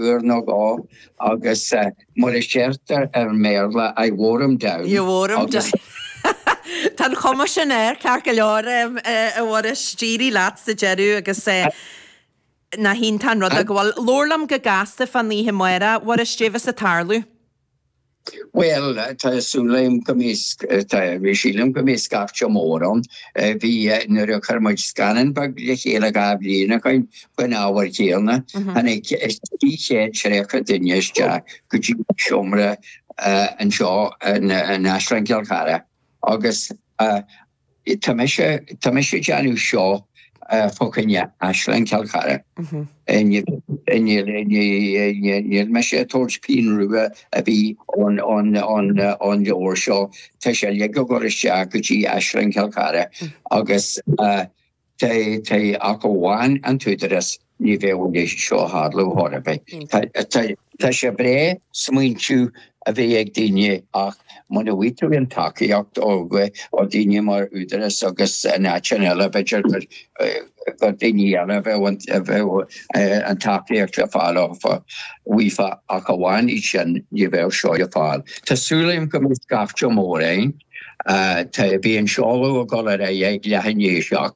uair nó dhó agus mar a deirtear i mBéarla, I wore him down. You wore him down. Tá an chuma sin air, ceart go leor, a Mhuiris, d'éirigh leat sa deireadh agus nach iontach an rud é go bhfuil. Labhair liom go gasta fán oíche amárach, a Mhuiris, cad é bheas ag tarlú. Bhuel, tá súil agam go mbeidh, tá, sílim go mbeidh scaifte mór ann. Bhí, nuair a chuir muid scannán beag le chéile 2 bhliain ó shoin faoin ábhar céanna, tháinig 330 duine isteach go dtí an seomra anseo in Áislann Chill Chartha agus Tá mise, tá mise ag déanamh seo fá choinne Áislann Chill Chartha. Níl mise ag tabhairt pingin rua ar bith ón leabhar seo. Tá sé uilig ag dul isteach go dtí Áislann Chill Chartha agus tá, ach amháin an t-údarás, ní bheadh a leithéid seo ag tarlú chor ar bith. Tá sé breá smaointiú a bheith ag daoine ach muna bhfaighidh tú an tacaíocht ó dhaoine mar Údarás agus in áiteanna eile b'fhéidir gur daoine eile a bheadh an tacaíocht le fáil uafa ach amháin iad sin ní bheadh seo le fáil. Tá súil agam go mbeidh scaifte mór ann. Tá, beidh an seoladh ag dul ar aghaidh ag leath i ndiaidh 7,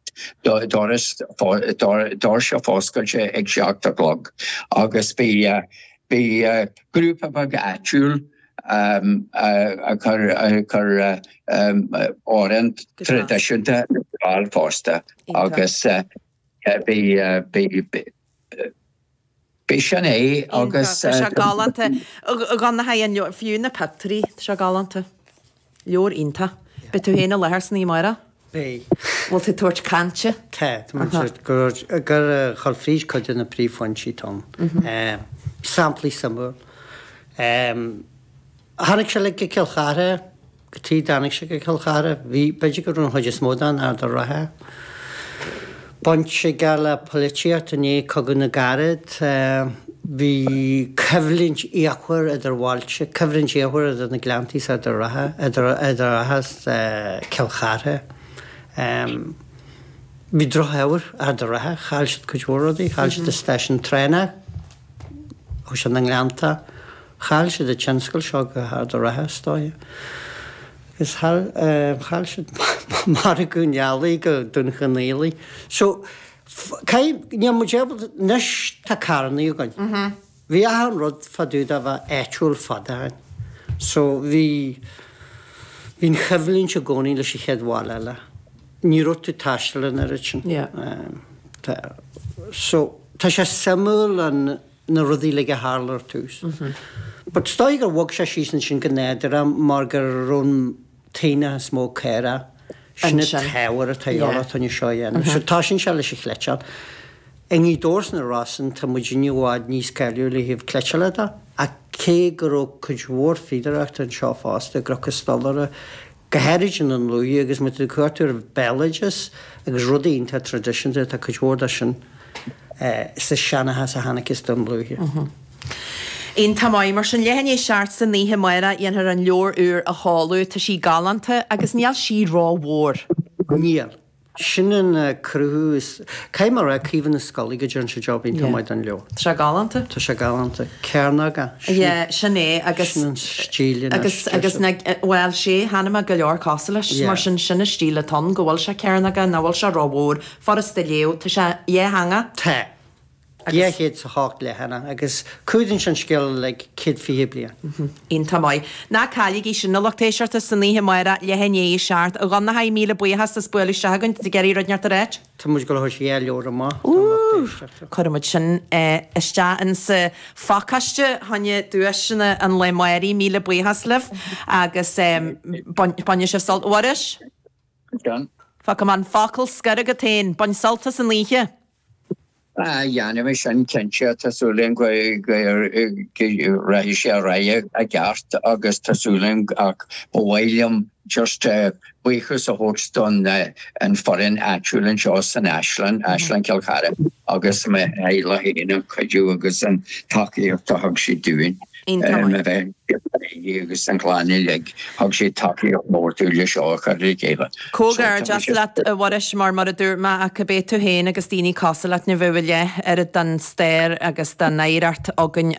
doras, doirse foscailte ag 7 a chlog agus beidh, beidh grúpa beag áitiúil ag cur, ag cur amhrán traidisiúnta ar fáil fosta agus beidh, beidh, Beidh sin é agus. Tá sé galánta. A Dhonncha, an leabhar, fiú na pictiúirí, tá sé galánta. Leabhar iontach. Beidh tú féin i láthair san oíche amárach? Beidh. Bhfuil tú ag tabhairt cainte? Tá, tá mé ag ag gabháil fríd cuid de na príomhphointí atá ann. Samplaí suimiúil. Tháinig sé le go Cill Chartha. Cad chuige a dtáinig sé go Cill Chartha. Bhí, b'fhéidir go raibh an chuid is mó de in Ard a' Rátha. Baint aige le polaitíocht i ndiaidh Cogadh na gCarad. Bhí coimhlint fhíochmhar idir bhailte, coimhlint fhíochmhar idir na Gleanntaí is Ard a' Rátha, idir Ard a' Rátha is Cill Chartha. Bhí drochádh ar Ard a' Rátha, chaill siad cuid mhór rudaí, chaill siad an stáisiún traenach, chuaigh sé na nGleannta. Chaill siad an tionscal seo go hArd a' Rátha, is dóigh. Agus chaill siad margadh an eallaigh go Dún Chonaill. So, caithfidh, níl muid ábalta, anois tá carrannaí againn. Bhí achan rud fá dtaobh de bheith áitiúil fada ó shin. So, bhí, bhí an choimhlint i gcónaí leis an chéad bhaile eile. Ní raibh tú ag taisteal an oiread sin. Tá, so, tá sé suimiúil an, na rudaí uilig a tharla ar tús. But is dóigh gur bhog sé síos ansin go nádúrtha mar go raibh an t-aonach is mó caorach, sin an t-ábhar atá de dhíobháil chun é seo a dhéanamh. So tosaíonn sé leis an chleiteáil. I nGaoth Dobhair is na Rosann tá muidinne i bhfad níos cáiliúla ó thaobh cleiteála de ach cé go raibh cuid mhór fíodóireachta anseo fosta, i gCnoc an Stolaire, go háirid i nDún Lúiche agus má tá tú ag cuartú ar bhéaloideas agus rudaí iontach traidisiúnta, tá cuid mhór de sin sa seanchas a tháinig as Dún Lúiche. Iontach maith. Mar sin, leath i ndiaidh 7 san oíche amárach, dhéanfar an leabhar úr a sheoladh. Tá sí galánta agus níl sí rómhór. Níl. Sin an cruthú is, caithfidh mé a rá, Caoimhe na Scolaí go dtearn sé job iontach maith don leabhar. Tá sé galánta. Tá sé galánta. Cearnóga. Yeah, sin é agus. Sin an stíl anois. Agus, agus na, bhuel, sé, chonaic mé go leor cosúil leis, mar sin, sin an stíl atá ann, go bhfuil sé cearnógach, nach bhfuil sé rómhór, furasta a léamh, tá sé dhátheangach. Tá. 208 leathanach agus cumhdaíonn sé an scéal uilig, 120 bliain. Iontach maith. Ná cailligí sin, a lucht éisteachta, san oíche amárach, leath i ndiaidh 7. A Dhonncha, míle buíochas as bualadh isteach chugainn. Tá tú ag iarraidh rud inteacht a ráit? Tá muid ag dul a thabhairt 2 leabhar amach don lucht éisteachta. Cuirfidh muid sin isteach insa phacáiste choinne duaiseanna an lae amáirigh. Míle buíochas libh agus bainfidh sibh sult. A Mhuiris? Fágfaidh mé an focal scoir agat féin. Bain sult as an oíche. Ah, dhéanfaidh mé sin cinnte. Tá súil agam go rachaidh sé ar aghaidh i gceart agus tá súil agam ach ba mhaith liom just buíochas a thabhairt don an foireann áitiúil anseo san Áislann, Áislann Chill Chartha agus mo theaghlach féin an cuidiú agus an tacaíocht a thug siad dúinn. Iontach maith. Agus an chlann uilig, thug sé tacaíocht mhór dúinn le seo a chur le chéile. Comhghairdeas leat, a Mhuiris, mar mar a dúirt mé, ach cibé tú féin agus daoine cosúil leat ní bheadh a leath oiread den stair agus den oidhreacht againn.